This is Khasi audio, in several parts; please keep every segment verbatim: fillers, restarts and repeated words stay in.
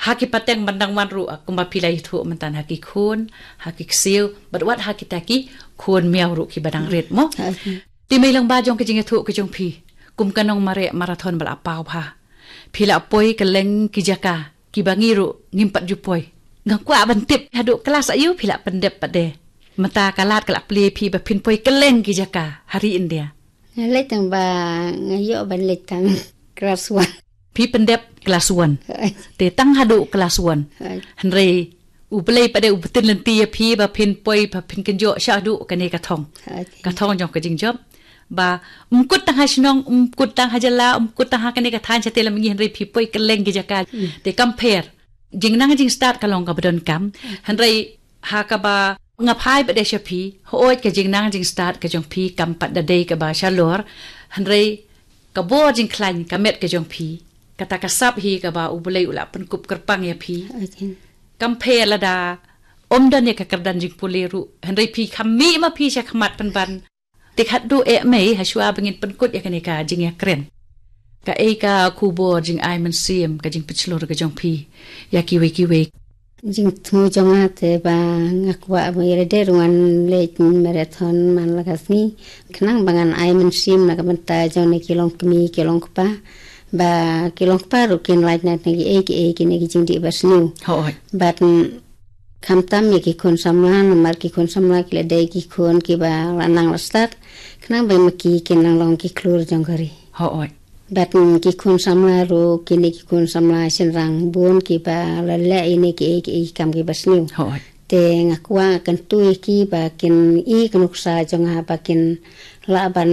Ha ki pateng ban dang wan ruh, kumba phi la ïathuh mynta, ha ki khun, ha ki ksiew, bad wat ha kita ki khun miaw ruh kiba dang rit mo. Te mei lang ba jong ka jingïathuh ka jong phi, kum ka nong mareh marathon ba la paw bha, phi la poi kylleng ki jaka kiba ngi ruh ngim pat ju poi. Nga kwah ban tip haduh klas aïu phi la pyndep pat de. Mynta ka lad ka la plie phi ba phin poi kylleng ki jaka ha ri India. Nga leit tang ba nga ïoh ban leit tang klas one. Phi pyndep klas one. Te tang haduh klas one. Hynrei U Blei pat de u btin lynti ïa phi ba phin poi, ba phin kynjoh sha haduh kane ka thong. Ka thong jong ka jingjop. Ba ym kut tang ha shnong, ym kut tang ha jylla, ym kut tang ha kane ka thaiñ shatei lam ngi, hynrei phi poi kylleng ki jaka. Te kam pher. Jingnang jingstad ka long kaba donkam. Hynrei ha kaba nga phai pat de sha phi, hooid ka jingnang jingstad ka jong phi kam pat da dei kaba shalor. Hynrei ka bor jingkhlaiñ ka met ka jong phi, kata ka sap hi kaba U Blei u la pynkup kyrpang ïa phi. Kam pher lada ym don ïa ka kyrdan jingpule ruh, hynrei phi kham mih ma phi sha khmat pynban. Te khatduh eh mei, ha shuwa ba ngin pynkut ïa kane ka jingïakren, kaei ka khubor jingai mynsiem, ka jingpynshlur ka jong phi ïa kiwei kiwei? Jingthmu jong nga te ba nga kwah ba ïa lade ruh ngan leit marathon man la ka sngi, khnang ba ngan ai mynsiem na ka bynta jong ne ki longkmie ki longkpa, ba ki longkpa ruh kin lait na ne kiei kiei kine ki jingdih basniew. Hooid. Bad khamtam ïa ki khun samla, namar ki khun samla ki la dei ki khun kiba la nang la stad, khnang ba ma ki kin nang long ki khlur jong ka ri. Hooid. Bad ki khun samla ruh, kine ki khun samla shynrang bun kiba la leh ïa ne kiei kiei ki kam kiba sniew. Hooid. Te nga kwah kyntu ïa ki ba kin i ka nuksa jong nga ba kin lah ban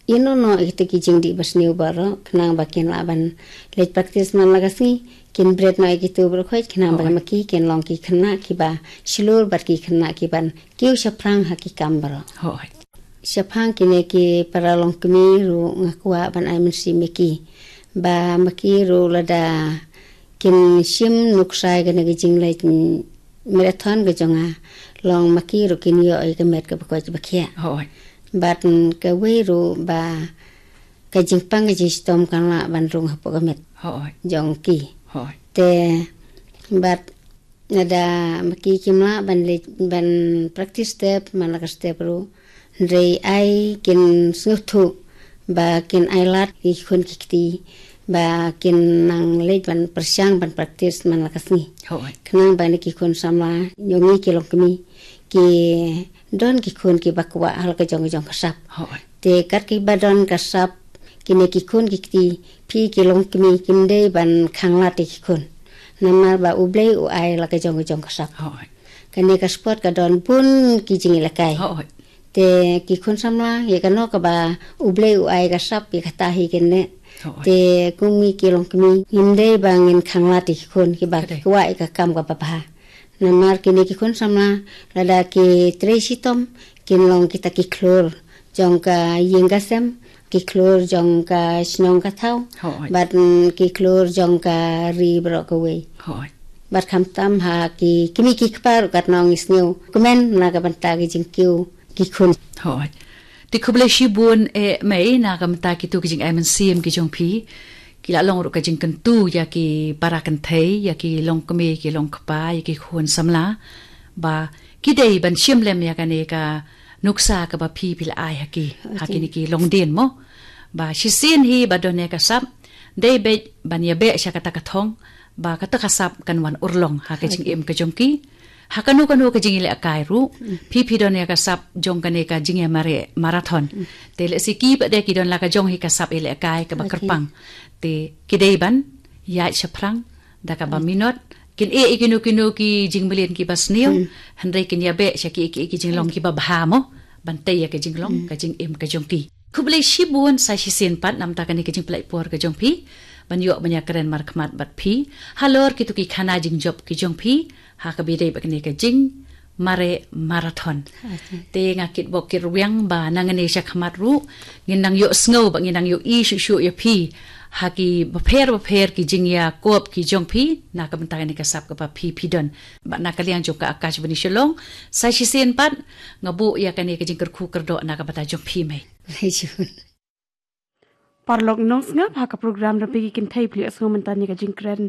ïehnoh noh ïa kita ki jingdih basniew baroh, khnang ba kin lah ban leit practice man la ka sngi, kin bret noh ïa kitu baroh khoit, khnang ba ma ki kin long ki khynnah kiba shlur bad ki khynnah kiban kiew shaphrang ha ki kam baroh. Hooid. Shaphang kine ki para longkmie ruh nga kwah ban ai mynsiem ïa ki ba ma ki ruh lada kin shim nuksa ïa kane ka jingleit marathon ka jong nga, long ma ki ruh kin ïoh ïa ka met kaba koit ba khiah. Hooid. Bad kawei ruh ba ka jingpang ka jingshitom kan lah ban rung hapoh ka met. Hooid. Jong ki. Hooid. Te bad lada ma ki kim lah ban leit ban practice step man la ka step ruh, hynrei ai kin sngewthuh ba kin ai lad ki khun ki kti ba kin nang leit ban pyrshang ban practice man la ka sngi. Hooid. Khnang ba ne ki khun samla jong ngi ki longkmie ki don ki khun kiba kwah ha la ka jong ka jong ka sap. Hooid. Te kat kiba don ka sap, kine ki khun ki kti, phi ki longkmie kim dei ban khanglad ïa ki khun, namar ba U Blei u ai la ka jong ka jong ka sap. Hooid. Kane ka sport ka don bun ki jingïalehkai. Hooid. Te ki khun samla, ïa kano kaba U Blei u ai ka sap, ïa kata hi kin leh. Hooid. Te kum ngi ki longkmie, ngim dei ba ngin khanglad ïa ki khun kiba ki kwah ïa ka kam kaba bha. Namar kine ki khun samla, lada ki trei shitom, kin long kita ki khlur jong ka ïing ka sem, ki khlur jong ka shnong ka thaw. Hooid. Bad ki khlur jong ka ri baroh kawei. Hooid. Bad khamtam ha ki kmie ki kpa ruh, katno ngi sngew kmen na ka bynta ki jingkiew ki khun. Hooid. Te khublei shibun eh mei na ka bynta kitu ki jingai mynsiem ki jong phi. Ki la long ruh ka jingkyntu ïa ki para kynthei, ïa ki longkmie ki longkpa, ïa ki khun samla, ba ki dei ban shim lem ïa kane ka nuksa kaba phi phi la ai ha ki, ha kine ki longdien mo. Ba shisien hi ba don ïa ka sap, dei beit ban ïabeh sha kata ka thong, ba kata ka sap kan wan urlong ha ka jingim ka jong ki. Ha kano kano ka jingïalehkai ruh, phi phi don ïa ka sap jong kane ka jingïamareh marathon. Te lehse ki pat de ki don la ka jong hi ka sap ïalehkai kaba kyrpang. Te ki dei ban ïaid shaphrang da kaba minot, kin ïeh ïa kino kino ki jingmlien kiba sniew, hynrei kin ïabeh sha ki, ki, ki jinglong kiba bha mo, ban tei ïa ka jinglong ka jingim ka jong ki. Khublei shibun sa shisien pat namar kane ka jingpynlait por ka jong phi ban ïoh ban ïakren markhmat bad phi halor kitu ki khana jingjop ki jong phi ha kaba ïadei bad kane ka jingmareh marathon. Te nga kitbok kitrwiang ba nangne shakhmat ruh ngin nang ïohsngew bad ngin nang ïohi shuh shuh ïa phi ha ki bapher bapher ki jingïakop ki jong phi na ka bynta kane ka sap kaba phi phi don. Bad na ka liang jong ka Akashvani Shillong, sa shisien pat nga buh ïa kane ka jingkyrkhu kyrdoh na ka bynta jong phi mei. Paralok nongsngap, ha ka program Rympei ki Kynthei phi ïohsngew mynta ïa ka jingkren